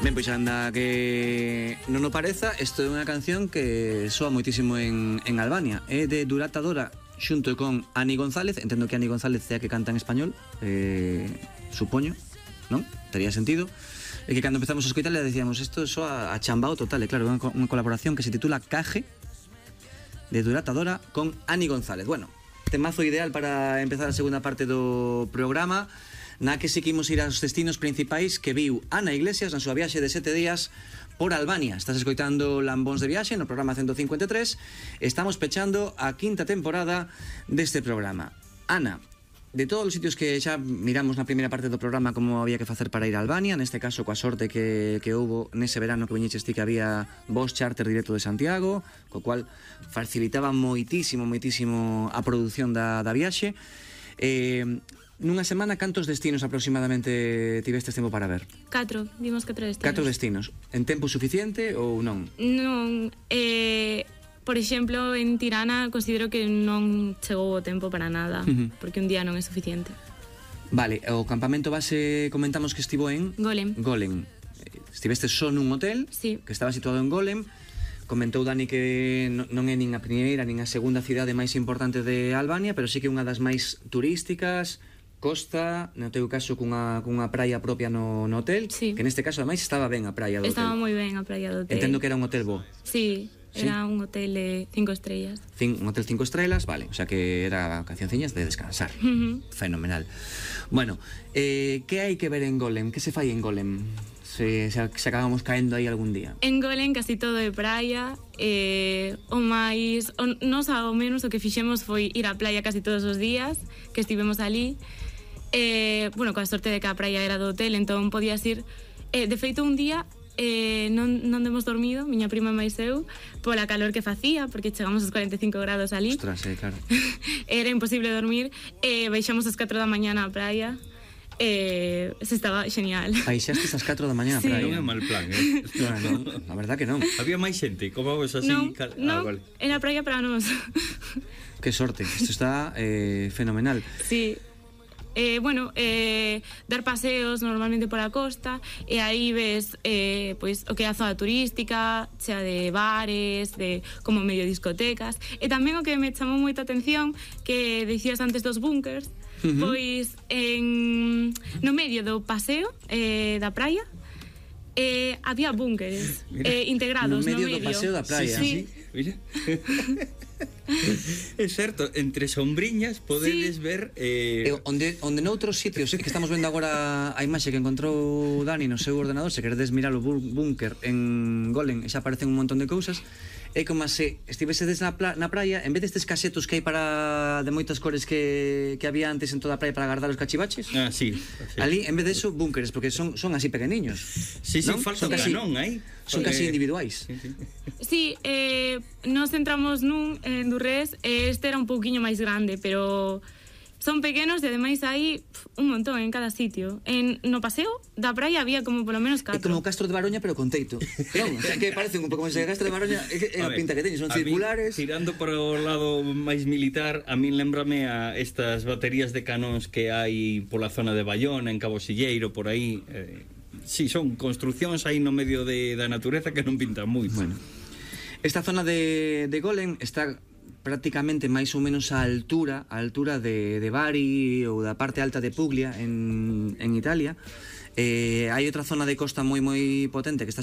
Ben, pois anda que non o pareza, isto é unha canción que soa moitísimo en Albania. É de Durata Dora xunto con Ani González. Entendo que Ani González é a que canta en español, supoño, non? Tería sentido. E que cando empezamos a escoitarle decíamos isto soa a chambao total. E claro, unha colaboración que se titula Caje, de Durata Dora con Ani González. Bueno, temazo ideal para empezar a segunda parte do programa, na que seguimos ir aos destinos principais que viu Ana Iglesias na súa viaxe de 7 días por Albania. Estás escoitando Lambóns de Viaxe no programa 153. Estamos pechando a quinta temporada deste programa. Ana, de todos os sitios que xa miramos na primeira parte do programa como había que facer para ir a Albania, neste caso coa sorte que houbo nese verano que viñeches ti que había voz charter directo de Santiago, co cual facilitaba moitísimo a produción da viaxe. Nunha semana, cantos destinos aproximadamente tivestes tempo para ver? 4, vimos 4 destinos. 4 destinos. En tempo suficiente ou non? Non, por exemplo, en Tirana considero que non chegou o tempo para nada, porque un día non é suficiente. Vale, o campamento base comentamos que estivo en... Golem. Estiveste só nun hotel, sí, que estaba situado en Golem. Comentou Dani que non é nin a primeira nin a segunda cidade máis importante de Albania, pero sí que é unha das máis turísticas. Costa, no teu caso cunha praia propia no hotel, sí, que neste caso ademais estaba ben a praia do hotel. Estaba moi ben a praia do hotel. Entendo que era un hotel bo. Sí, era un hotel de 5 estrellas. Un hotel 5 estrellas, vale, o sea que era vacacionciñas de descansar. Fenomenal. Bueno, que hai que ver en Golem? Que se fai en Golem? Se acabamos caendo aí algún día. En Golem casi todo é praia, nos ao menos o que fixemos foi ir á praia casi todos os días que estivemos ali. Bueno, coa sorte de que a praia era do hotel, entón podías ir. De feito, un día non demos dormido, miña prima máis eu, pola calor que facía, porque chegamos aos 45 grados ali. Ostras, claro. Era imposible dormir. Baixamos ás 4 da mañá na praia. Se estaba genial. Baixastes ás 4 da mañá na sí, praia. Non é mal plan, A verdad que non. Había máis xente, como vos así? Non, vale. era praia para nós. Que sorte, isto está fenomenal. Sí. Bueno, dar paseos normalmente pola costa, e aí ves pois o que é a zona turística, chea de bares, de como medio discotecas, e tamén o que me chamou moita atención, que dicías antes dos búnkers, pois no medio do paseo da praia había búnkeres integrados no medio do paseo da praia. Sí. Mira. É certo, entre sombriñas podedes ver onde noutros sitios que estamos vendo agora a imaxe que encontrou Dani no seu ordenador, se queredes mirar o búnker en Golem, xa aparecen un montón de cousas. É como se estivesedes na praia, en vez destes casetos que hai para de moitas cores que había antes en toda a praia para guardar os cachivaches. Sí. Ali, en vez de eso, búnkeres, porque son así pequeniños. Sí, falta un canón aí. Son casi individuais. Sí, nos entramos nun en Durrés, este era un pouquiño máis grande, pero son pequenos e ademais hai un montón en cada sitio. No paseo da praia había como polo menos 4. É como o Castro de Baroña, pero con teito. Non, o sea, que parecen un pouco como ese Castro de Baroña, é a pinta que teñen, son circulares. Tirando por o lado máis militar, a min lembrame a estas baterías de canóns que hai pola zona de Bayona, en Cabo Silleiro, por aí. Sí, son construcións aí no medio da natureza que non pintan moito. Bueno, esta zona de Golem está prácticamente máis ou menos a altura de Bari ou da parte alta de Puglia en Italia. Hai outra zona de costa moi potente que está